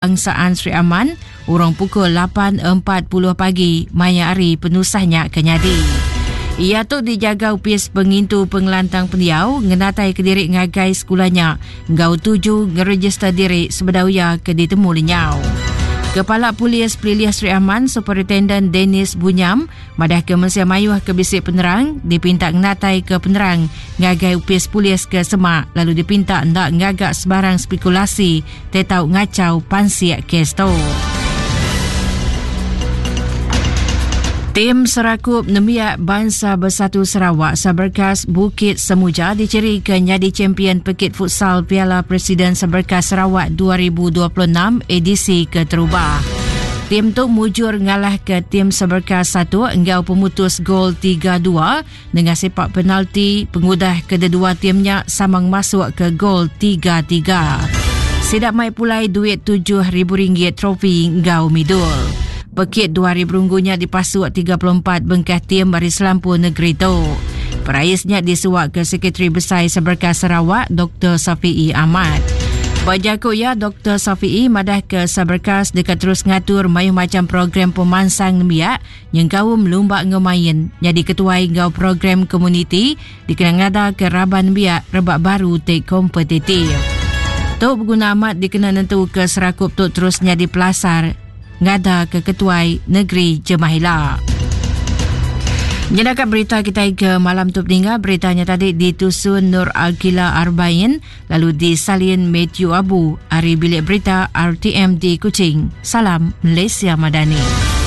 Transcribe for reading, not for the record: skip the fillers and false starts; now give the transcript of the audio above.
Kebangsaan Sri Aman urung pukul 8.40 pagi maya hari penusah nya ke nyadi. Iya tu dijaga Opis Pengintu Pengelantang Pendiau ngenatai kediri ngagai sekula nya enggau tuju ngerejister diri sebedau iya ke ditemu lenyau. Kepala Polis Pelilih Sri Aman Superintenden Dennis Bunyam Madahka mensia mayuh ke bisi penerang dipinta ngenataika penerang ngagai opis polis ke semak lalu dipinta enda ngaga sebarang spekulasi ti tau ngachau pansik kes tu. Tim Serakup Nembiak Bansa Bersatu Sarawak Saberkas Bukit Semuja dichirika nyadi champion pekit futsal Piala Presiden Saberkas Sarawak 2026 edisi keterubah. Tim tu mujur ngalahka tim Seberka satu enggau pemutus gol 3-2 nengah sepak penalti pengudah kededua tim nya sama ngemasuk ke gol 3-3. Sida mai pulai duit RM7,000 trofi enggau midul. Pekit dua hari berunggu nya dipasuk 34 bengkah tim ari selampur negeri tu. Perais nya disuaka Sekretari Besai Seberka Sarawak Dr. Safi'i Ahmad. Ba jaku iya, Doktor Safi'i madahka Saberkas deka terus ngatur mayuh macham program pemansang nembiak nyengkaum lumba enggau main nyadi ketuai enggau program komuniti dikena ngadaka raban nembiak rebak baru ti kompetitif. Tu beguna amat dikena nentuka serakup tu terus nyadi pelasar ngadaka ketuai negeri jemah ila. Nyedaka berita kitai ke malam tu peninga berita nya tadi ditusun Nur Alkila Arbain lalu disalin Matthew Abu ari bilik berita RTM di Kuching. Salam Malaysia Madani.